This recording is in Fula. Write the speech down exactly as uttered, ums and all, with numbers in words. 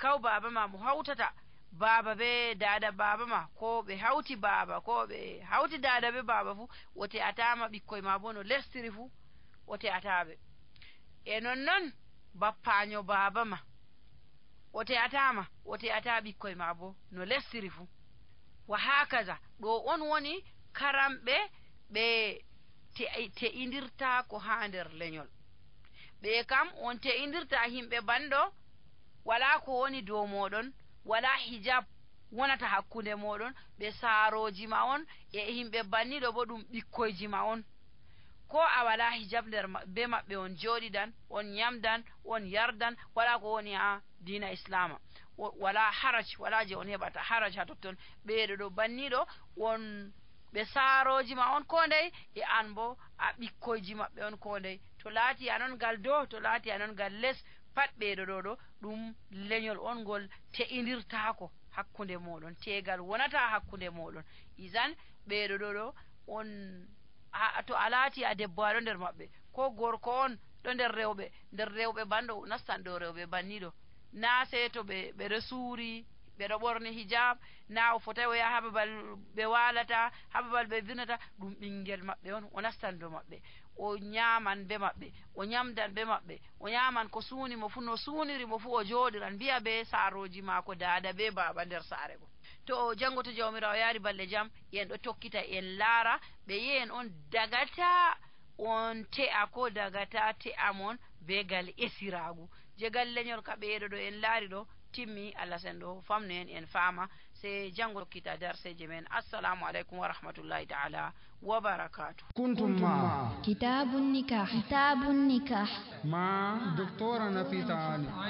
Taw baaba ma mo hawtata baaba be daada baaba ma, ko ɓe hawti baaba, ko ɓe hawti daada be baaba fu, o te'ataama ɓikkoy ma bo no lestiri fu, o te'ataa ɓe. E nonnon, bappaanyo baaba ma, o te'ataa ma, o te'ataa ɓikkoy ma bo no lestiri fu. Wa haakaza, ɗo on woni karamɓe ɓe te-, te'indirtaako haa nder lenyol. Ɓe kam on te'indirta himɓe banɗo, walaa ko woni dow mooɗon, walaa hijab wonata hakkunde mooɗon, ɓe saarooji ma on, e himɓe banniɗo bo ɗum ɓikkoyji ma on. Ko a walaa hijab nder ma-, be maɓɓe on jooɗidan, on nyamdan, on yardan, walaa ko woni haa diina Islaama. Wo-, walaa haraj, walaa je on heɓata haraj haa totton. Ɓeeɗo ɗo banniɗo on, ɓe saarooji ma on ko ndey, e an bo a ɓikkoyji maɓɓe on ko ndey. To laati an on gal dow, to laati an on gal les, pat ɓeeɗo ɗo ɗo, ɗum lenyol on ngol te'indirtaako hakkunde mooɗon, teegal wonata hakkunde mooɗon. Izan, ɓeeɗo ɗo ɗo, on, a, to a laati a debbo aɗo nder maɓɓe, ko gorko on ɗo nder rewɓe, nder rewɓe banɗo nastan ɗo rewɓe banniɗo. Naa sey to ɓe, ɓe ɗo suuri, ɓe ɗo ɓorni hijab, naa o fotay o yaha haa babal ɓe waalata, haa babal ɓe vinata, ɗum ɓinngel maɓɓe on, o nastan dow maɓɓe. O nyaaman be maɓɓe, o nyamdan be maɓɓe, o nyaaman ko suuni mo fu, no suuniri mo fu o jooɗiran, mbi'a be saarooji maako daada be baaba nder saare go. To o janngo to Jawmiraawo yaari balɗe jam, en ɗo tokkita, en laara, ɓe yi'en on dagata, on te'a ko dagata te'a mon be gal esiraagu. Je gal lenyol ka ɓeeɗo ɗo en laari ɗo, timmi, Allah sen ɗo famnu en, en faama, sey janngo tokkita darseeje men. Assalamu aleykum wa rahmatullahi ta'ala wa barakatuh. كنتم مع كتاب النكاح. كتاب النكاح. مع دكتورة نفيسة علي.